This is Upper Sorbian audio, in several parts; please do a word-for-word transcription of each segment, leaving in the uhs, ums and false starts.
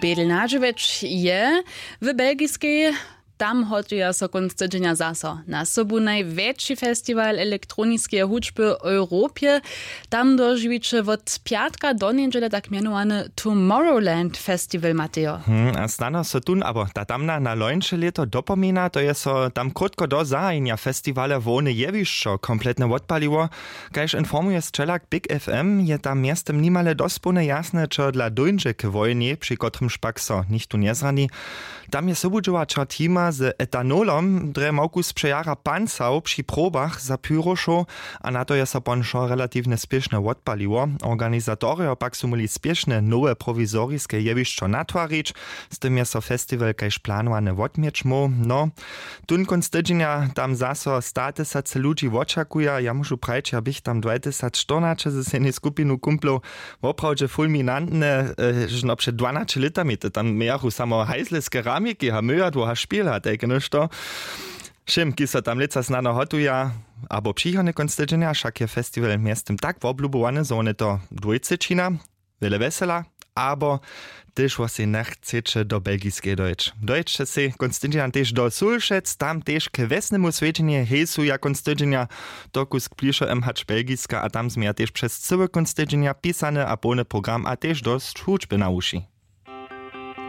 Bědl nadźěłeć je w belgiskej. Tam hotuja so kónc tydźenja zaso na sobu najwjetši festiwal elektroniskeje hudźby w europje. Tam dožiwiće wot pjatka do njedźele tak mjenowany Tomorrowland festiwal, Matejo. Hmm, a snano so tón abo ta tamna na lońše lěto dopomina, to je so tam krótko do zahajenja festiwala hłowne jewišćo kompletne wotpaliło. Kaž informuje sćelak Big F M, je tam mjeztym nimale dospołnje jasne, čo dla dóńdźe k wojnje, při kotrymž pak so nichtó njezrani. Tam je sobudźěłaćer teama z etanolom drje małku spřejara pancał při probach za pyrošow, a na to je so ponšo relatiwnje spěšnje wotpaliło. Organizatorjo pak su móhli spěšnje nowe prowizoriske jewišćo natwarić, z tym je so festiwal kaž planowane wotměć móhł. No, tón kónc tydźenja tam zaso statysacy ludźi wočakuja. Ja móžu prajić, ja běch tam dwajtysacštyrnaće ze sejnej skupinu kumplow woprawdźe fulminantne, e, žno před dwanaće lětami to tam mějachu samo hajzle z keramiki a myjadło a špěl a tajke něšto. Wšěm, kiž so tam lětsa snano hotuja, abo přichodny kónc tydźenja, wšak je festiwal mjeztym tak woblubowany, zo wone to dwójce čina, wjele wjesela, abo tež wo sej njechceće do belgiskeje dojć, dojće sej kónc tydźenja tež do Sulšec, tam tež k wjesnemu swjedźenje hejsuja kónc tydźenja. To kusk blišo em hač belgiska, a tam změja tež přez cyły kónc tydźenja pisany a połny program a tež dosć hudźby na wuši.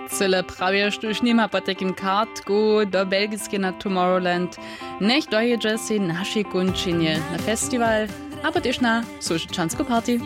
Cyle prawje, štóž nima potajkim kartku do belgiskeje na Tomorrowland, njech dojědźe sej w našej kónčinje na festiwal abo tež na Sulšćansku party.